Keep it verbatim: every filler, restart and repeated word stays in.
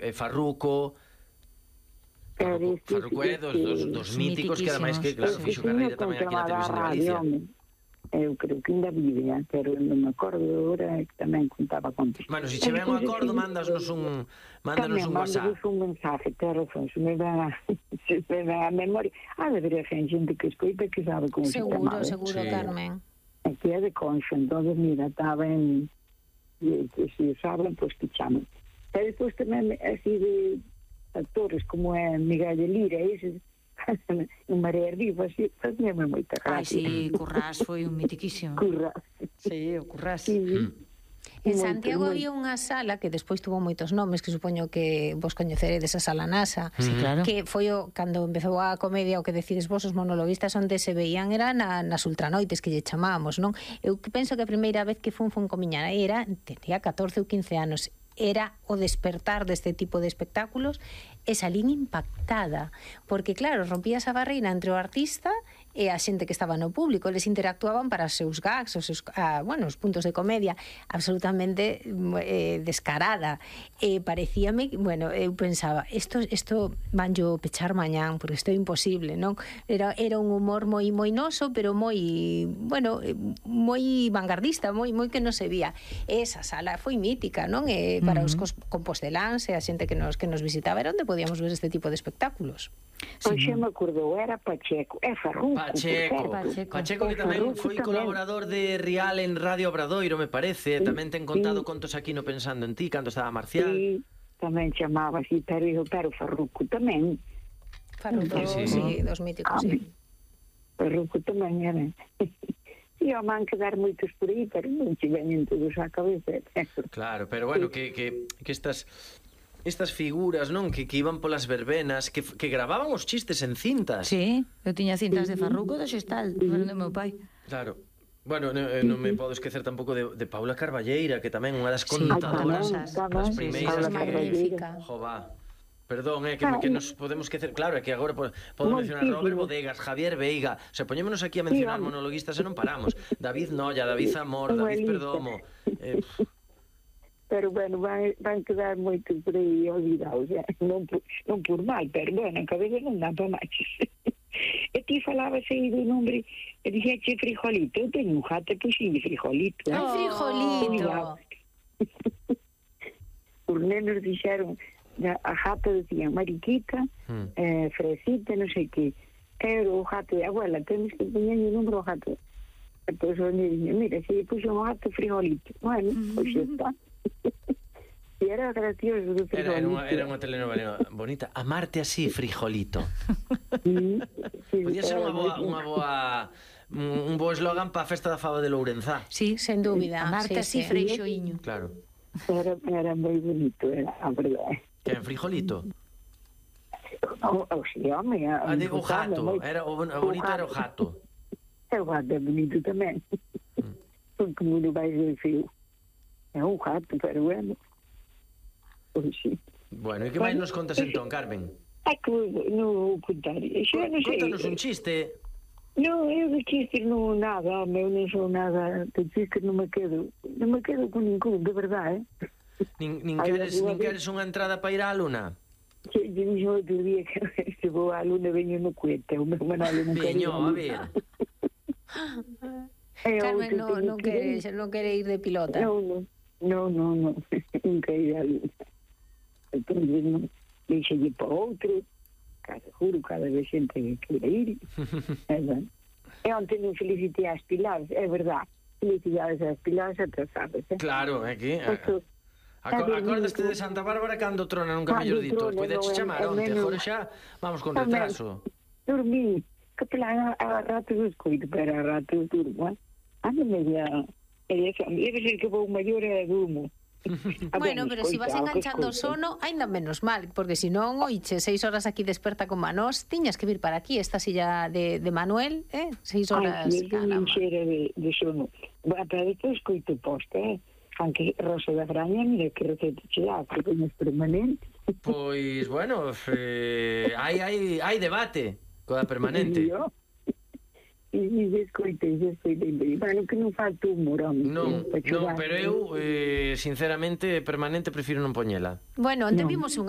eh, Farruco... Farruco, Farruco é dos, dos, dos míticos que ademais que, claro, fixo carreira tamén aquí na televisión de Galicia. Eu creo que ainda vive, pero non me acordo agora que tamén contaba contos. Bueno, se che ven un acordo, mándanos un mándanos un WhatsApp. Tamén, mándanos un mensaje, te razón, se me ven a, se me ven a memoria. Ah, debería ser gente que escoita que sabe como se chamaba. Seguro, seguro, Carmen. Aquí é de Conxo, entonces, mira, estaba en... Se si saben, pois que chaman. E depois tamén, así de... actores como é Miguel de Lira, ese en Marea Viva, así, facíame moita gracia. Ai, sí, Currás foi un mitiquísimo. Currás. Sí, o Currás. Sí, sí. En Santiago había unha sala que despois tuvo moitos nomes, que supoño que vos coñeceredes, a Sala Nasa, sí, claro. Que foi o, cando empezou a comedia, o que decides vos, os monologuistas, onde se veían era na, nas ultranoites, que lle chamábamos, non? Eu penso que a primeira vez que fun fun comiñana era, tenía catorce ou quince anos, era o despertar deste tipo de espectáculos, e salín impactada, porque claro, rompías a barreira entre o artista e a xente que estaba no público, eles interactuaban para os seus gags, os seus, ah, bueno, os puntos de comedia, absolutamente eh, descarada, e parecíame, bueno, eu pensaba, isto isto van yo pechar mañán, porque isto é imposible, non? Era, era un humor moi moi noso, pero moi, bueno, moi vanguardista, moi moi que non se vía. Esa sala foi mítica, non? E para uh-huh. os composteláns e a xente que nos que nos visitaba era onde podíamos ver este tipo de espectáculos. Pois xa me acordou, era Pacheco, é Farruco. Pacheco, Pacheco, Pacheco que tamén foi colaborador de Rial en Radio Obradoiro, me parece, tamén ten contado contos aquí no Pensando en Ti, cando estaba Marcial. Sí, tamén chamaba así, pero, pero Farruco tamén. Farruco, sí, sí, dos míticos, sí. Farruco tamén era. E ao man quedar moitos por aí, pero non se veñen todos á cabeza. Claro, pero bueno, que, que, que estas... estas figuras, non? Que, que iban polas verbenas, que, que gravaban os chistes en cintas. Sí, eu tiña cintas de Farruco do Xestal, pero do meu pai. Claro. Bueno, non no me podo esquecer tampouco de, de Paula Carballeira, que tamén unha das contadoras, sí, das primeiras que... Jova. Perdón, eh, que, que nos podemos esquecer. Claro, é que agora podo mencionar Robert Bodegas, Javier Veiga. O sea, poñémonos aquí a mencionar monologuistas e non paramos. David Nolla, David Zamor, David Perdomo... Eh, pero bueno, van, van quedar moito por aí olvidados, eh? non, por, non por mal, pero bueno, a cabeza non dá para máis. E ti falabas aí do nombre, e dixeche Frijolito, eu teño un jato, puxinlle Frijolito. Eh? Oh, Frijolito! Os nenos dixeron, a jato decían Mariquita, hmm. eh, Fresita, non sei que, era o jato de abuela, temos que poñer o número ao jato. E pois o neno dixen, mira, se lle puxo un jato Frijolito. Bueno, pois xa está. E era gracioso do Frijolito. Era, era, unha, era unha telenovela bonita. Amarte así, Frijolito. Sí, sí, podía ser unha boa, unha boa un bo eslogan para a festa da fava de Lourenzá. Sí, sen dúbida. Amarte así, sí, Freixoiño. Claro. Era, era moi bonito, era a verdade. Que en Frijolito? O, o sí, home. Ah, digo, o gato. Era, o, o bonito era o gato. O gato é bonito tamén. Porque non vai ser feo. É un gato, pero bueno. Pois sí. Bueno, e que máis nos contas entón, Carmen? É que non vou contar. Contanos un chiste. Non, eu de chistes non nada, eu non sou nada, de chistes non me quedo, non me quedo con ningún, de verdade, eh? Nin, nin, queres, nin queres unha entrada para ir á Luna? Sí, eu dixo outro día que se vou á Luna veño no cuete, o meu manalo non quero. Veño, a ver. Carmen non no quere, non quere ir de pilota. Non, non, non, non, non, non quero ir á Luna. Entón, non, deixelle para outro. Cada, juro, cada vez xente que quere ir. E onte non felicitei as Pilares, é verdad. Felicidades ás Pilares atrasadas, eh? Claro, é que... Acordaste de Santa Bárbara cando trona, nunca mellor dito. Podeche chamar onte, agora xa vamos con retraso. Dormí, que plan a rato do escoito, pero a rato durmo, eh? Ando media... Debe ser que vou maior e durmo. Bueno, pero se si vas enganchando o sono, ainda menos mal, porque se non, oiche, seis horas aquí desperta con Manós, tiñas que vir para aquí, esta silla de, de Manuel, eh? Seis horas. Ai, eu non xera de, de sono. Para depois coito posta, eh? Aunque Rosa da Fraña, mira que receta che dá, que coñes permanente. Pois, bueno, eh, hai, hai, hai debate coa permanente. E se escoitei, se escoitei. Bueno, que non falta humor, home. Non, non, pero eu, eh, sinceramente, permanente, prefiro non poñela. Bueno, onte vimos unha